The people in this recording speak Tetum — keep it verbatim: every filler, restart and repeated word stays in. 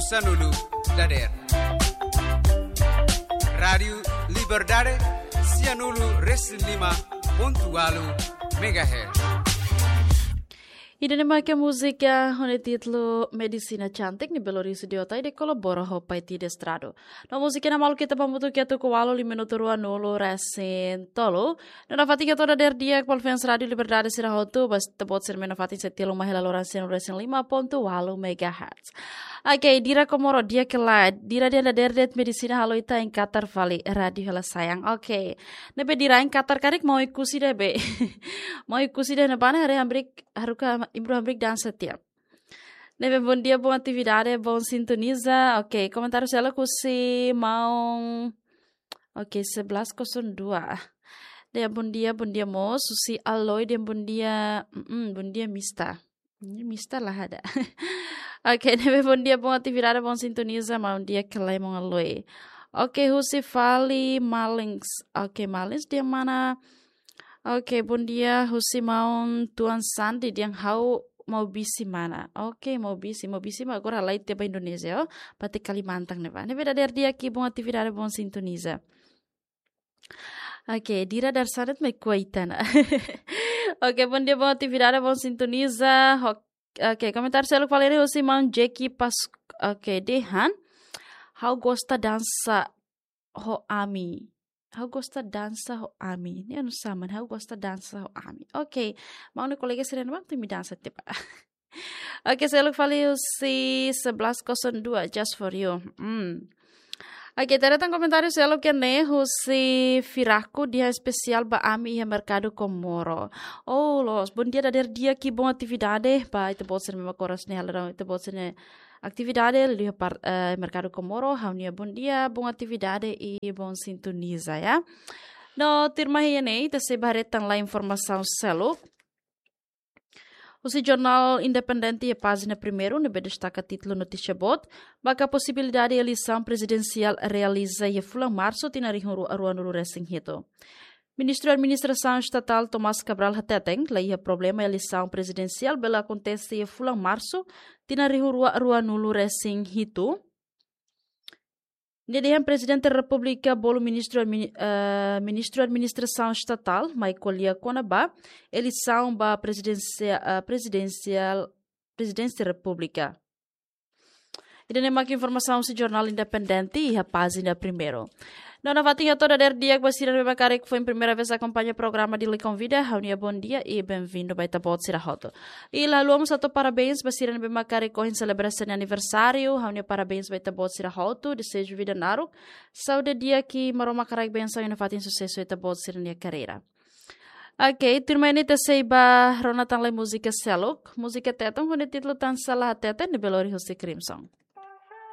Sanulu dader. Rádiu Liberdade, sianulu resin lima pontu walu megahertz. Ida-ne'e mak múzika ho nia títulu Medisina Cantik, ne'ebé lori husi Diotai de kolabora ho Paiti Destrado. No múzika ne'e maluk ita hamutuk iha tuku walu liu minutu ruanulu resin tolu. No nafatin ita toda dader di'ak ba fans Rádiu Liberdade sira hotu, ba ita-boot sira ne'ebé nafatin sei telu mai hela loron sianulu resin lima pontu walu megahertz. Oke, Dira Komoro, di'ak ka lae, Dira dehan dader de'it medisina halo ita hein katar fali rádiu hela sayang. Oke. Ne'ebé Dira hein katar karik maun Oekusi de'it be. Maun Oekusi de'it ne'ebá ne'e haree hamriik, haruka improve hamriik dansa tiha. Ne'ebé bondia, boa atividade, bom sintoniza. Oke, komentáriu seluk husi maun. Oke, sebelas kosong dua. Dehan bondia, bondia mós, husi Aloy dehan bondia, mm, bondia Mista. Ini Mista la iha. Oke, ne'ebé bondia, bom atividade, bom sintoniza, maun di'ak ka lae maun Aloy. Oke, husi fali Malins. Oke, Malins dehan mana? Oke, bondia, husi maun Tuan Sandi dehan ha'u Maubisi mana. Oke, Maubisi, Maubisi mak agora halai tiha ba Indonézia, oh. Parte Kalimantan ne'ebá. Ne'ebé dader di'ak, bom atividade, bom sintoniza. Oke, Dira Darsanet mai kuaitana. Oke, bondia, bom atividade, bom sintoniza. Ho-, oke, komentáriu seluk fali ne'e husi maun Jeki Pas-, oke, dehan. Ha'u gosta dansa ho ami. Ha'u gosta dansa ho ami. Ne'e oinsá mak, ha'u gosta dansa ho ami. Oke, maun nia kolega sira ne'ebá mak imi dansa tiha ba. Oke, seluk fali husi sebelas kosong dua, just for you. Hmm. Oke, ita haree tan komentáriu seluk iha ne'e husi Firaku dehan espesiál ba ami iha Merkadu Komoro. Oh, loos, bondia dader di'ak, bom atividade, ba ita-boot sira ne'ebé mak oras ne'e halo ita-boot sira-nia atividade liu iha par-, eh, Merkadu Komoro, ha'u-nia bondia, bom atividade i bom sintoniza, ya. No, tuirmai iha ne'e, ita sei ba haree tan lai informasaun seluk. Husi jornál Independente iha pájina primeiru, ne'ebé destaka títulu notísia boot, ba posibilidade eleisaun prezidensiál realiza iha fulan Marsu tinan rihun rua ruanulu resin hitu. Ministru Administrasaun Estatál Tomás Cabral hateten, la iha problema eleisaun prezidensiál bele akontese iha fulan Marsu tinan rihun rua ruanulu resin hitu. Nia dehan Prezidente Repúblika bolu Ministru Admini-, eh, Ministru Administrasaun Estatál mai ko'alia kona-ba eleisaun ba prezidensia-, eh, prezidensiál, Prezidénsia Repúblika. Ida-ne'e mak informasaun husi jornál Independente iha pájina primeiru. No nafatin ita toda dader di'ak ba sira ne'ebé mak karik foin primeira vez akompaña programa Dili Konvida, ha'u-nia bondia i bem-vindo ba ita-boot sira hotu. I la haluha mós hato'o parabéns ba sira ne'ebé mak karik ohin selebrasaun aniversáriu, ha'u-nia parabéns ba ita-boot sira hotu, dezeju vida naruk, saúde di'ak, Maromak haraik bensaun i nafatin susesu ita-boot sira-nia karreira. Oke, tuirmai ne'e ita sei ba rona tan lai múzika seluk, múzika Tetun ho nia títulu Tansá La Hateten, ne'ebé lori husi Crimson.